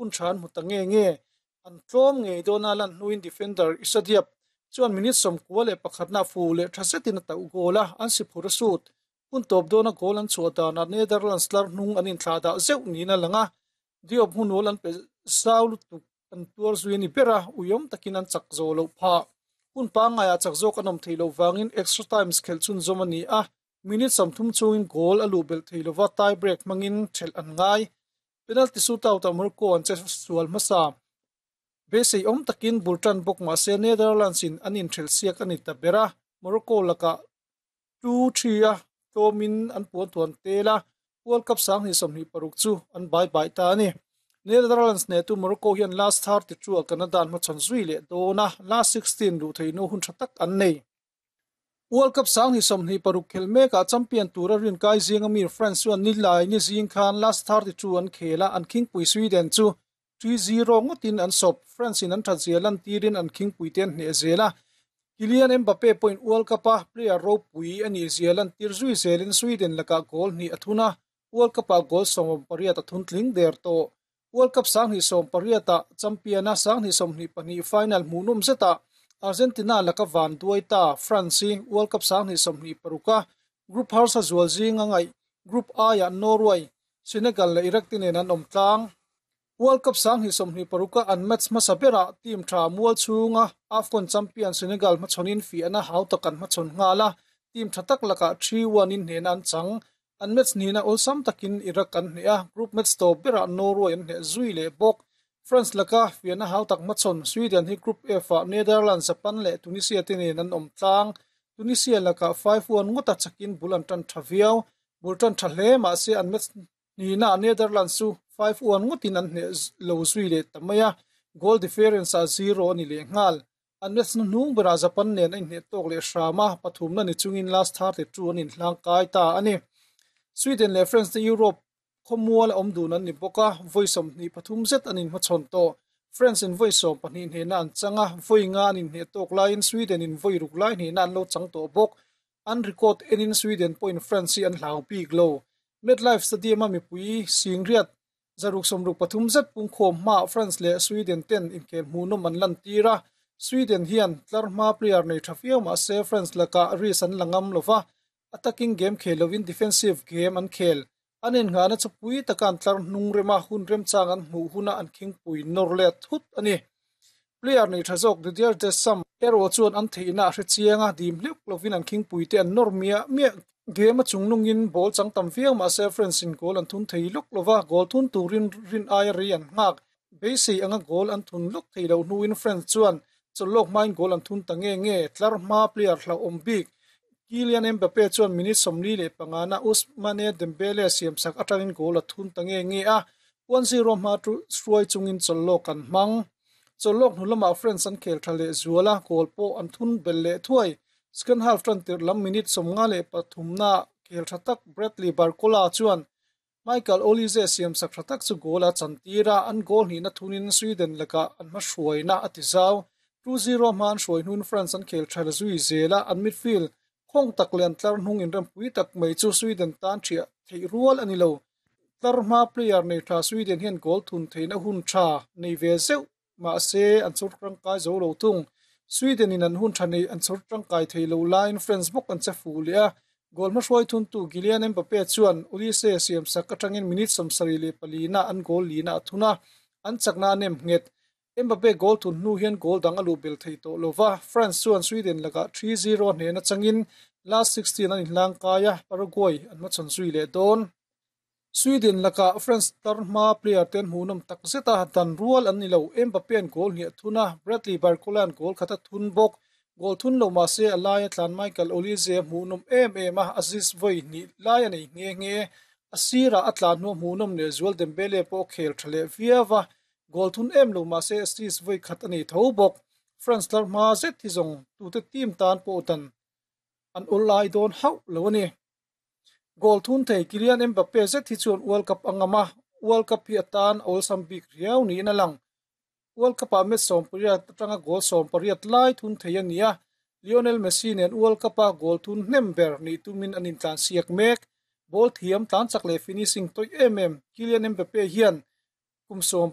Hun tha an hmu ta nge nge. An tlawm ngei dawn a lan hnuin defender Issa Diop chuan minute 11 na fu leh tha zetin a tauh goal a, an si phur a sut. Hun tawp dawna goal an chhuah danah Netherlands tlar hnung an inthlah dah zeuh niin a lang a, Diop hmunawl an pe zau lutuk an tuar zui a ni ber a, uiawm takin an chak zawh loh phah. Hun pangngaiah chak zawk an awm theih loh vangin extra times khelh chhunzawm a ni a, minute 30 chhungin goal a luh belh thei lova tie break hmangin thelh an ngai. Penalty shootout ah Morocco an che sual hmasa. Beisei awm takin bul tan bawk mah se Netherlands in an inthelh siak a ni ta ber a, Morocco lakah 2-3 a tlawmin an puan thuan tel a, World Cup 2026 chu an bai bai ta a ni. Netherlands hnehtu Morocco hian last 32 ah Canada an hmachhawn zui leh dawn a, last 16 luh theihna hun tha tak an nei. World Cup 2026 khelh mekah champion tura rinkai zinga mi France chuan nilai ni zing khan last 32 an khel a, an khingpui Sweden chu 3-0 ngawtin an sawp. France in an that zia lantirin an khingpui te an hneh zel a. Kylian Mbappe pawhin World Cup a player ropui a nih zia lantir zui zelin Sweden lakah goal hnih a thun a, World Cup ah goal 18 a thun tling der tawh. World Cup 2018 ah champion a 2022 final hmuhnawm zetah Argentina laka van duai ta France hi World Cup 2026 a group harsa zual zinga ngaih Group I ah Norway, Senegal leh Iraq te nen an awm tlang. World Cup 2026 a an match hmasa berah team tha mual chhunga AFCON champion Senegal hmachhawnin fiahna hau tak an hmachhawn nghal a, team tha tak lakah 3-1 in hnehna an chang. An match hnihna awlsam takin Iraq an hneh a, group match tawp berah Norway an hneh zui leh bawk. France laka fiahna hau tak hmachhawn Sweden hi Group F ah Netherlands, Japan leh Tunisia te nen an awm tlang. Tunisia lakah 5-1 ngawta chakin bul an tan tha viau. Bul tan tha hle mahse an match hnihna ah Netherlands chu 5-1 ngawtin an hneh lo zui leh ta mai a, goal difference ah 0 a ni leh nghal. An match hnuhnung berah Japan nen a inhneh tawk leh hram a, pathumna ni chungin last 32 an inhlang kai ta a ni. Sweden leh France te Europe khawmual a awm dun an ni bawk a, vawi 23 zet an inhmachhawn tawh. France in vawi 12 hnehna an chang a, vawi nga an inhneh tawk laiin Sweden in vawi ruk lai hnehna an lo chang tawh bawk. An record enin Sweden pawhin France hi an hlau bik lo. MetLife Stadium a mipui singriat 663 zet pungkhawm hmaah France leh Sweden ten inkhel hmuhnawm an lantir a, Sweden hian tlar hma player nei tha viau mah se France lakah risk an la ngam lova, attacking game khel lovin defensive game an khel. An innghahna chu pui taka an tlar hnung rem a, hun remchang an hmuh huna an khingpui nawr let thut a ni. Player nei tha zawk Didier Deschamps erawh chuan an theihna a hre chiang a, dim hleuh lovin an khingpui te an nawr miah miah. Game a chungnungin ball chang tam viau mah se France in goal an thun thei lawk lova, goal thun turin rin aia rei an nghak. Beisei anga goal an thun lawk thei loh hnuin France chuan chawlhlawk hmain goal an thun ta nge nge. Tlar hma player hlauhawm bik Kylian Mbappe chuan minute 45 na Ousmane Dembele siamsak atangin goal a thun ta nge nge a, 1-0 hma hruai chungin chawlhlawk an hmang. Chawlhlawk hnu lamah France an khel tha leh zual a, goal pawh an thun belh leh thuai. Second half tan tirh lam minute 53 na khel tha tak Bradley Barcola chuan Michael Olise siamsak tha tak chu goal a chantir a, an goal hnihna thunin Sweden lakah an hmahruaina a ti zau. 2-0 hma an hruai hnun France an khel tha zui zel a, an midfield khawng tak leh an tlar hnung inrempui tak mai chu Sweden tan thiah theih rual a ni lo. Tlar hma player nei tha Sweden hian goal thun theihna hun tha nei ve zeuh mahse an chhawr tangkai zo lo thung. Sweden in an hun tha nei an chhawr tangkai thei lo laiin France bawk an che fuh leh a, goal hmahruai thuntu Kylian Mbappe chuan Olise siamsak atangin minute 74 na an goal lina a thun a, an chakna a nem nghet. Mbappe goal thun hnu hian goal dang a luh bel thei tawh lova, France chuan Sweden lakah 3-0 hnehna changin last 16 an inhlang kai a, Paraguay an hmachhawn zui leh dawn. Sweden lakah France tar hma player te an hmuhnawm tak zet a, dan rual an ni lo. Mbappe an goal hniah thun a, Bradley Barcola an goal khat a thun bawk. Goal thun lo mah se a laia tlan Michael Olise a hmuhnawm em em a, assist vawi hnih lai a nei nghe nghe. A sirah a tlan hnu a hmuhnawm leh zual Dembele pawh a khel tha leh viau a, goal thun em lo mah se assist vawi khat a nei tho bawk. France tlar hma zet hi zawng tute team tan pawh dan an awl lai dawn hauh lo a ni. Goal thun thei Kylian Mbappe zet hi chuan World Cup a ngam a, World Cup hi atan a awlsam bik riau niin a lang. World Cup ah match 18 atanga goal 18 lai thun thei a ni a, Lionel Messi nen World Cup a goal thun hnem ber nih tumin an intlansiak mek. Ball thiam tlan chak leh finishing tawih em em Kylian Mbappe hian kum 10.